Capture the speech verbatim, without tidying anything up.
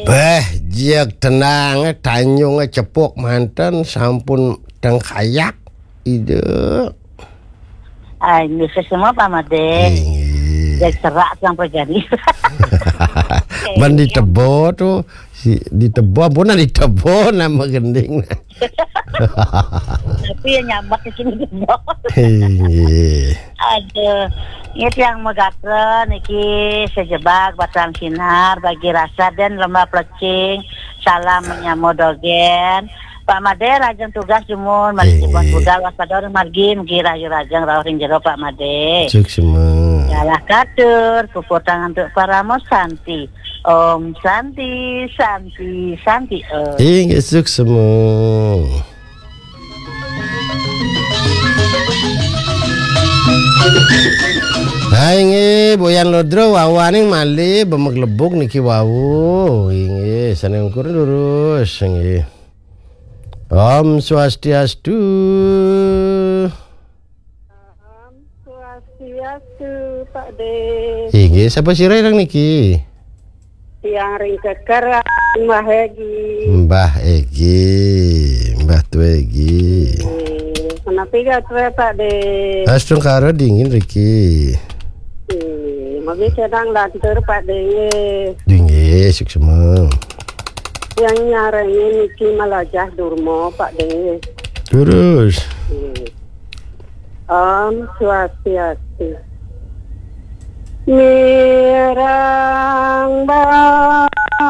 Béh, jek tenang, tanjung cepuk manten, sampun tengkayak. Ide. Ay, bisa semua Pak Made. Inggih. Jadi serak sampai jadi. Ban ditebo tuh, si ditebo, ampun, ditebo nama gending. Tapi ya nyambak di sini jebol. Inggih. Aduh, ini tiang megaken niki sejebak batang sinar bagi rasa dan lembah plecing. Salam menyamo dogen. Pak Made, rajeng tugas jumun, mari Inggih. Dipun budal waspada ring margi, mugi rahayu rajeng rauh ring jero Pak Made. Suksma. Galah katur, puputang antuk paramo santi. Om santi, santi, santi om. Inggih, suksma. Hai nggih, Boyan Lodro wawaning malih bemeglebug niki wau. Inggih, sané ukur lurus nggih. Om Swastiastu. Om Swastiastu, Pak De. Inggih, sapa sira ireng niki? Tiang ring keker, Mbah Egi. Mbah Egi, Mbah Tué Egi. Eh, Kenapi gatra, Pak De? Astungkara dingin riki. Eh, Magi sedang lantur, Pak De. Inggih, suksma. Yang nyarengin niki Malajah Durma, Pak De. Terus. Eh. Om Swastiastu. Mirang ba